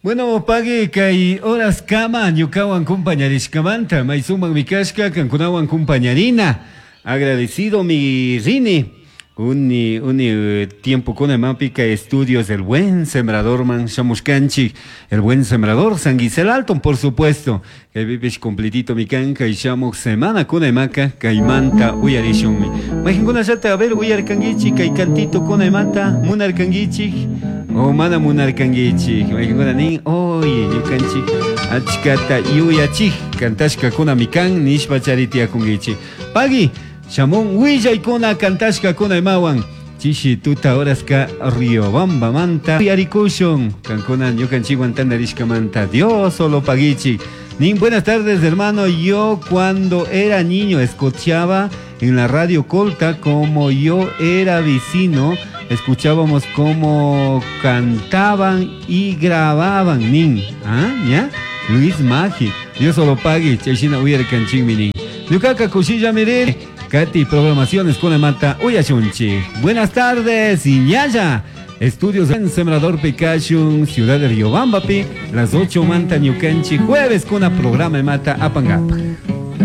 Bueno, pagui kay horas kama ñukawan kumpañarishkamanta may sumakmi kashka kankunawan kumpañarina. Agradecido mi rini. Uni uni tiempokuna imapika estudios del buen sembrador man shamushkanchik. El buen sembrador San Gisel Alton, por supuesto. Kaypipish completito mi kan kay shamuk semana kuna imaka kaymanta uyarishunmi. Mayqinkunallata a ver uyarkankichik kay cantito kuna imata munarkankichik o mana munarkankichik. Mayqinkuna nin oye ñukanchik achkata yuyachik cantashkakunami kan nishpa chari tiyakunkichik. Pagui shamun willaykuna cantashkakuna imawan. Chishi tuta horaska Riobambamanta uyarikushun kankuna ñukanchikwan tantarishkamanta Dios solo paguichik. Nin, buenas tardes hermano, yo cuando era niño escuchaba en la radio Colta como yo era vecino, escuchábamos cómo cantaban y grababan, nin. ¿Ah? ¿Ya? Luis Magi, Dios solo pague, chayshina uyarkanchikmi nin. Ñukaka kushilla mirir, Katy, programaciones con mata uyashunchik. Buenas tardes, Iñaya. Estudios en Sembrador Picachun, Ciudad de Riobamba, pi, las 8 manta ñukanchik, jueves con la programa mata Apangapa.